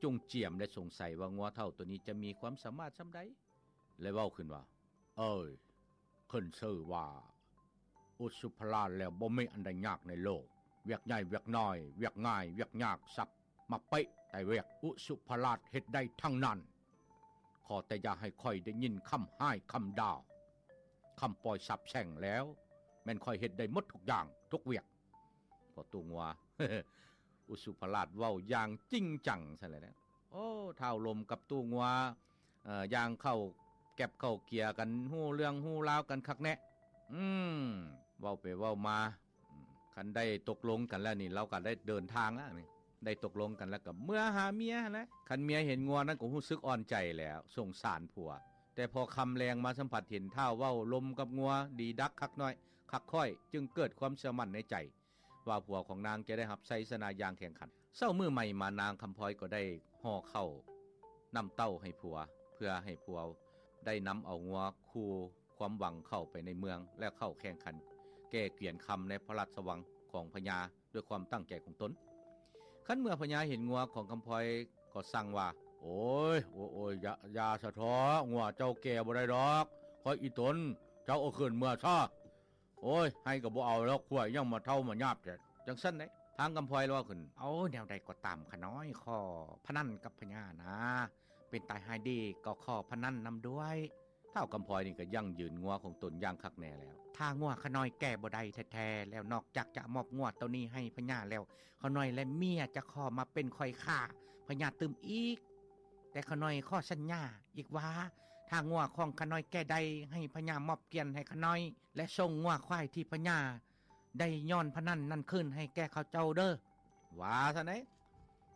ຈົ່ງຈຽມ ແລະ ສົງໄສວ່າງົວເຖົ້າໂຕນີ້ຈະມີຄວາມສາມາດສ່ຳໃດ ແລະ ເວົ້າຂຶ້ນວ່າ, ເອີຍ, ຂຶ້ນຊື່ວ່າອຸດສຸພະລາດແລ້ວ ບໍ່ມີອັນໃດຍາກໃນໂລກ. ວຽກໃຫຍ່ວຽກນ້ອຍ, ວຽກງ່າຍວຽກຍາກ, ສັບມາເປະ, ແຕ່ວຽກອຸດສຸພະລາດເຮັດໄດ້ທັງນັ້ນ. ຂໍແຕ່ຢ່າໃຫ້ຂ້ອຍໄດ້ຍິນຄຳຮ້າຍຄຳດ່າ, ຄຳປ່ອຍສາບແຊ່ງແລ້ວ, ແມ່ນຂ້ອຍເຮັດໄດ້ໝົດທຸກຢ່າງ, ທຸກວຽກ. ພໍຕູ້ງົວ ອຸດສຸພະລາດເວົ້າຢ່າງຈິງຈັງຊັ້ນແຫຼະ. ໂອ້ ທ້າວລົມກັບຕູ້ງົວ ເອີ ຍ່າງເຂົ້າແກັບເຂົ້າເກຍກັນ, ຮູ້ເລື່ອງຮູ້ລາວກັນຄັກແນ່. ອືມ ເວົ້າໄປເວົ້າມາ, ອືມ ຄັນໄດ້ຕົກລົງກັນແລ້ວນີ້ ລາວກໍໄດ້ເດີນທາງແລ້ວນີ້, ໄດ້ຕົກລົງກັນແລ້ວກໍເມືອຫາເມຍຫັ້ນແຫຼະ. ຄັນເມຍເຫັນງົວນັ້ນກໍຮູ້ສຶກອ່ອນໃຈແລ້ວ, ສົງສານຜົວ. ແຕ່ພໍຄ່ຳແລງມາ ສຳຜັດເຫັນທ້າວເວົ້າລົມກັບງົວດີດັກຄັກນ້ອຍ, ຄັກຂ້ອຍ, ຈຶ່ງເກີດຄວາມເຊື່ອໝັ້ນໃນໃຈ ວ່າຜົວຂອງນາງຈະໄດ້ຮັບໄຊຊະນະຢ່າງແຂງຂັນ. ເຊົ້າມື້ໃໝ່ມາ ນາງຄຳພອຍກໍໄດ້ຫໍ່ເຂົ້ານ້ຳເຕົ້າໃຫ້ຜົວ, ເພື່ອໃຫ້ຜົວໄດ້ນຳເອົາງົວຄູ່ຄວາມຫວັງເຂົ້າໄປໃນເມືອງ ແລະ ເຂົ້າແຂ່ງຂັນແກ່ກຽນຄຳໃນພະລາຊະວັງຂອງພະຍາ ດ້ວຍຄວາມຕັ້ງໃຈຂອງຕົນ. ຄັນເມື່ອພະຍາເຫັນງົວຂອງຄຳພອຍກໍສັ່ງວ່າ, ໂອ້ຍ, ໂອ້ຍ, ຢ່າ, ຢ່າສະເທາະ, ງົວເຈົ້າແກ່ບໍ່ໄດ້ດອກ. ຂ້ອຍອີ່ຕົນ, ເຈົ້າເອົາຄືນເມືອຊະ. ໂອ້ຍ, ໃຫ້ກໍບໍ່ເອົາແລ້ວ, ຂ້ອຍຍັງມາເຖົ້າມາຍາບແທ້. ຈັ່ງຊັ້ນໃດ໋ ທາງຄຳພອຍເວົ້າຂຶ້ນ, ເອົາ ແນວໃດກໍຕາມ, ຂ້ານ້ອຍຂໍພະນັນກັບພະຍານະ, ເປັນຕາຍຮ້າຍດີກໍຂໍພະນັນນຳດ້ວຍ. ທ້າວຄຳພອຍນີ້ກໍຢັ້ງຢືນງົວຂອງຕົນຢ່າງຄັກແນ່ແລ້ວ. ຖ້າງົວຂ້ານ້ອຍແກ່ບໍ່ໄດ້ແທ້ໆແລ້ວ, ນອກຈາກຈະມອບງົວໂຕນີ້ໃຫ້ພະຍາແລ້ວ, ຂ້ານ້ອຍແລະເມຍຈະຂໍມາເປັນຂ້ອຍຂ້າພະຍາຕື່ມອີກ. ແຕ່ຂ້ານ້ອຍຂໍສັນຍາອີກວ່າ, ຖ້າງົວຂອງຂ້ານ້ອຍແກ່ໄດ້, ໃຫ້ພະຍາມອບກຽນໃຫ້ຂ້ານ້ອຍ ແລະ ສົ່ງງົວຄວາຍທີ່ພະຍາໄດ້ຍ້ອນພະນັນນັ້ນຄືນໃຫ້ແກ່ເຂົາເຈົ້າເດີ້. ວ່າຊັ້ນໃດ໋.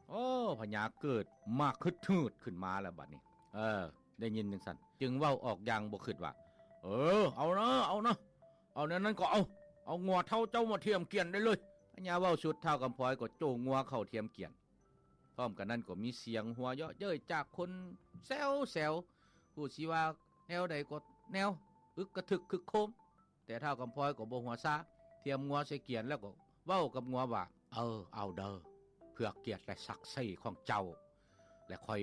ໂອ້ ພະຍາເກີດມາຄຶດຫືດຂຶ້ນມາແລ້ວບັດນີ້. ເອີ ໄດ້ຍິນຈັ່ງຊັ້ນ ຈຶ່ງເວົ້າອອກຢ່າງບໍ່ຄຶດວ່າ, ເອີ ເອົານະ, ເອົານະ, ເອົາແນວນັ້ນກໍເອົາ, ເອົາງົວເຖົ້າເຈົ້າມາທຽມກຽນໄດ້ເລີຍ. ພະຍາເວົ້າສຸດ, ທ້າວຄຳພອຍກໍໂຈງງົວເຂົ້າທຽມກຽນ. ພ້ອມກັນນັ້ນກໍມີສຽງຫົວເຍາະເຍີ້ຍຈາກຄົນແຊວໆ, ຜູ້ຊິວ່າແນວໃດກໍແນວ, ອຶກກະທຶກຄຶກໂຄມ. ແຕ່ທ້າວຄຳພອຍກໍບໍ່ຫົວຊາ, ທຽມງົວໃສ່ກຽນແລ້ວກໍເວົ້າກັບງົວວ່າ, ເອີ ເອົາເດີ້, ເພື່ອກຽດ ແລະ ສັກສີຂອງເຈົ້າ ແລະ ຂ້ອຍ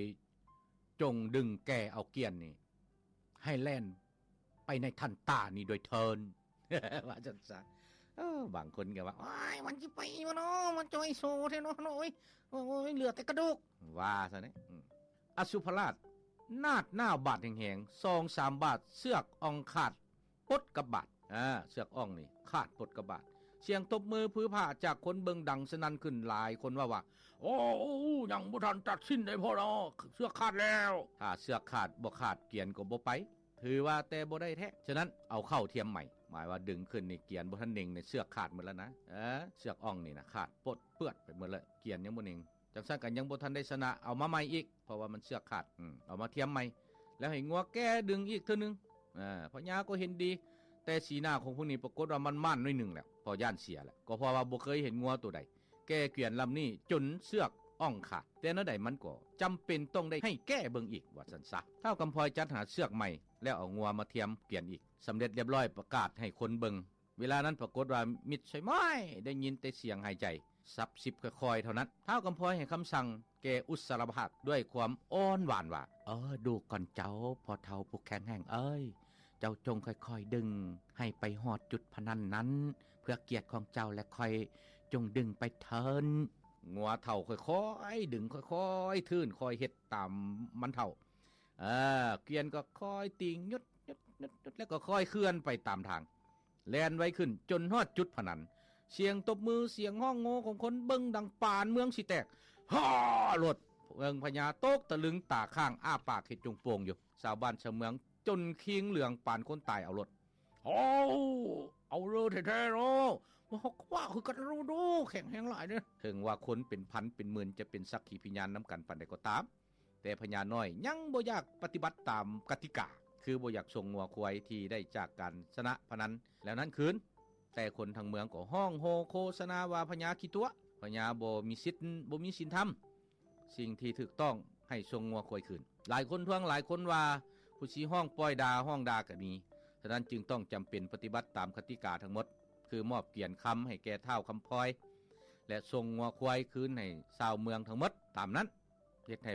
ຈົ່ງດຶງແກ່ເອົາກຽນນີ້ໃຫ້ແລ່ນໄປໃນທັນຕານີ້ດ້ວຍເທີ້ນ. ວ່າຊັ້ນຊະ. ເອີ ບາງຄົນກໍວ່າ, ໂອ້ຍ, ມັນຊິໄປບໍ່ນໍ, ມັນຈ່ອຍໂຊແທ້ນໍ, ໂອ້ຍ, ໂອ້ຍ, ເຫຼືອແຕ່ກະດູກ. ວ່າຊັ້ນເດ. ອາ ສຸພະລາດນາດໜ້າບາດແຮງໆ ສອງສາມບາດ, ເຊືອກອ່ອງຂາດປົດກັບບາດ. ອາ ເຊືອກອ່ອງນີ້ຂາດປົດກັບບາດ. ສຽງຕົບມືຜືຜາຈາກຄົນເບິ່ງດັງສະໜັ່ນຂຶ້ນ, ຫຼາຍຄົນເວົ້າວ່າ, ໂອ້, ຍັງບໍ່ທັນຕັດສິນໃດພໍເນາະ, ເຊືອກຂາດແລ້ວ. ຖ້າເຊືອກຂາດບໍ່ຂາດ, ກຽນກໍບໍ່ໄປ. ຖືວ່າແຕ່ບໍ່ໄດ້ແທ້. ສະນັ້ນເອົາເຂົ້າທຽມໃໝ່, ໝາຍວ່າດຶງຂຶ້ນນີ້ ກຽນບໍ່ທັນເໜັງນີ້ ເຊືອກຂາດໝົດແລ້ວນະ. ເອີ ເຊືອກອ່ອງນີ້ນະ ຂາດປົດເປືອດໄປໝົດແລ້ວ, ກຽນຍັງບໍ່ເໜັງ. ຈັ່ງຊັ້ນກໍຍັງບໍ່ທັນໄດ້ຊະນະ, ເອົາມາໃໝ່ອີກ, ເພາະວ່າມັນເຊືອກຂາດ. ອືມ ເອົາມາທຽມໃໝ່ ແລ້ວໃຫ້ງົວແກ່ດຶງອີກເທື່ອໜຶ່ງ. ອາ ພະຍາກໍເຫັນດີ, ແຕ່ສີໜ້າຂອງພວກນີ້ປາກົດວ່າໝັ່ນໆໜ້ອຍໜຶ່ງແລ້ວ, ເພາະຢ້ານເສຍແຫຼະ, ກໍເພາະວ່າບໍ່ເຄີຍເຫັນງົວໂຕໃດແກ່ກຽນລຳນີ້ຈົນເຊືອກອ່ອງຂາດ. ແຕ່ແນວໃດມັນກໍຈຳເປັນຕ້ອງໄດ້ໃຫ້ແກ່ເບິ່ງອີກ, ວ່າຊັ້ນຊະ. ທ້າວກຳພອຍຈັດຫາເຊືອກໃໝ່ ແລ້ວເອົາງົວມາທຽມກຽນອີກ. ສຳເລັດລຽບຮ້ອຍ, ປະກາດໃຫ້ຄົນເບິ່ງ. ເວລານັ້ນປາກົດວ່າມິດໄຊມ້ອຍໄດ້ຍິນແຕ່ສຽງຫາຍໃຈສັບສິບຄ່ອຍໆເທົ່ານັ້ນ. ທ້າວກຳພອຍໃຫ້ຄຳສັ່ງແກ່ອຸດສາລະພາກດ້ວຍຄວາມອ່ອນຫວານວ່າ, ເອີ ດູກ່ອນເຈົ້າ, ພໍ່ເຖົ້າຜູ້ແຂງແຮງເອີຍ, ເຈົ້າຈົ່ງຄ່ອຍໆດຶງໃຫ້ໄປຮອດຈຸດພະນັນນັ້ນ ເພື່ອກຽດຂອງເຈົ້າ, ແລະ ຂ້ອຍຈົ່ງດຶງໄປເທີ້ນ. ງົວເຖົ້າຄ່ອຍໆດຶງ, ຄ່ອຍໆທືນ, ຄ່ອຍເຮັດຕາມມັນເຖົ້າ. ເອີ ກຽນກໍຄ່ອຍຕີງຍຸດໆໆໆ ແລ້ວກໍຄ່ອຍເຄື່ອນໄປຕາມທາງ, ແລ່ນໄວຂຶ້ນຈົນຮອດຈຸດພະນັນ. ສຽງຕົບມື, ສຽງຮ້ອງໂຮຂອງຄົນເບິ່ງດັງປານເມືອງຊິແຕກ. ຮາ! ໂລດ ເບິ່ງພະຍາຕົກຕະລຶງ, ຕາຄ້າງ, ອ້າປາກເຮັດຈຸງໂປ່ງຢູ່. ຊາວບ້ານຊາວເມືອງຈົນຄີງເຫຼືອງປານຄົນຕາຍເອົາໂລດ. ໂອ້ ເອົາເລີແທ້ໆເນາະ, ວ່າເຮົາກໍວ່າຄືກັນໂລດ, ແຂງແຮງຫຼາຍເດ້. ເຖິງວ່າຄົນເປັນພັນເປັນໝື່ນຈະເປັນສັກຂີພິຍານນຳກັນປານໃດກໍຕາມ, ແຕ່ພະຍານ້ອຍຍັງບໍ່ຢາກປະຕິບັດຕາມກະຕິກາ, ຄືບໍ່ຢາກສົ່ງງົວຄວາຍທີ່ໄດ້ຈາກການຊະນະພະນັນແລ້ວນັ້ນຄືນ. ແຕ່ຄົນທັງເມືອງກໍຮ້ອງໂຮໂຄສະນາວ່າພະຍາຂີ້ຕົວະ, ພະຍາບໍ່ມີສິດ, ບໍ່ມີສິນທຳ, ສິ່ງທີ່ຖືກຕ້ອງໃຫ້ສົ່ງງົວຄວາຍຄືນ. ຫຼາຍຄົນທ້ວງ, ຫຼາຍຄົນວ່າຜູ້ຊິຮ້ອງປ່ອຍດ່າ, ຮ້ອງດ່າກໍມີ. ສະນັ້ນຈຶ່ງຕ້ອງຈຳເປັນປະຕິບັດຕາມກະຕິກາທັງໝົດ, ຄືມອບກຽນຄຳໃຫ້ແກ່ທ້າວຄຳພອຍ ແລະ ສົ່ງງົວຄວາຍຄືນໃຫ້ຊາວເມືອງທັງໝົດຕາມນັ້ນ. ເຮັດໃຫ້